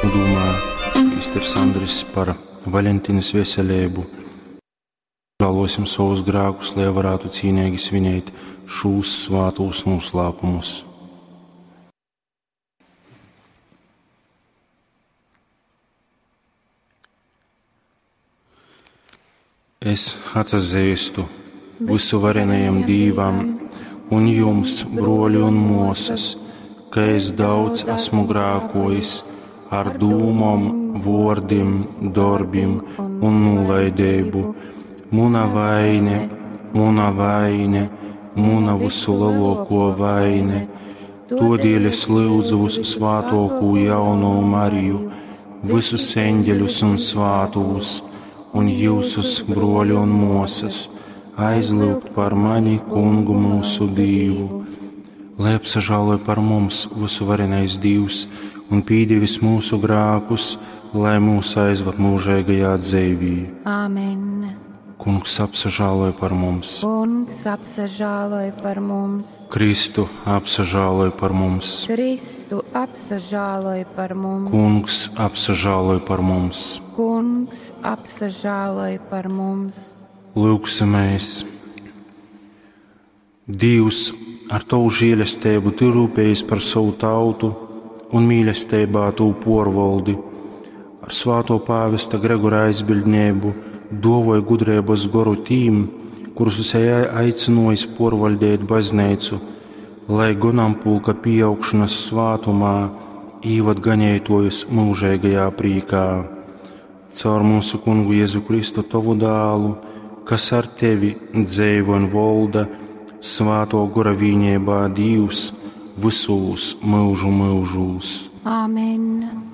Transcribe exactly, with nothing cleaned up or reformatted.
Dūmā prīsters Andris par Valentīnas veselību. Žālosim savus grēkus, lai varētu cīnīgi svinēt šos svātos noslēpumus. Es atsazīstu visuvarenajam Dīvam un jums, broļi un mosas, ka es daudz esmu grēkojis ar dūmom, vordim, dorbim un nolaidību. Muna vaine, muna vaine, muna visu lielāko vaine. Todēļ es lūdzu visu svātoko jauno Mariju, visus eņģeļus un svātūs, un jūsus broļi un mosas, aizlūgt par mani, kungu mūsu Dīvu. Lai apsažāloj par mums visuvarenais Dīvs un pīdevis mūsu grākus, lai mūs aizvad mūžīgajā dzīvī. Āmen. Kungs apsažāloj par mums. Kungs apsažāloj par mums. Kristu apsažāloj par mums. Kristu apsažāloj par mums. Kungs apsažāloj par mums. Kungs apsažāloj par mums. Lūgsimies! Dievs ar tavu žēlastību tu rūpējies par savu tautu un mīlestībā tu porvaldi. Ar svāto pāvesta Gregora aizbildnību dovoja gudrības goru tīm, kurus esi aicinājis porvaldēt baznīcu, lai gonampulka pieaugšanas svātumā īvad ganētojus mūžīgajā prīkā. Caur mūsu kungu Jēzu Kristu tavu dālu, kas ar tevi dzeivo un volda, svāto gora vīņībā Dievs visūs mūžu mūžūs. Āmen.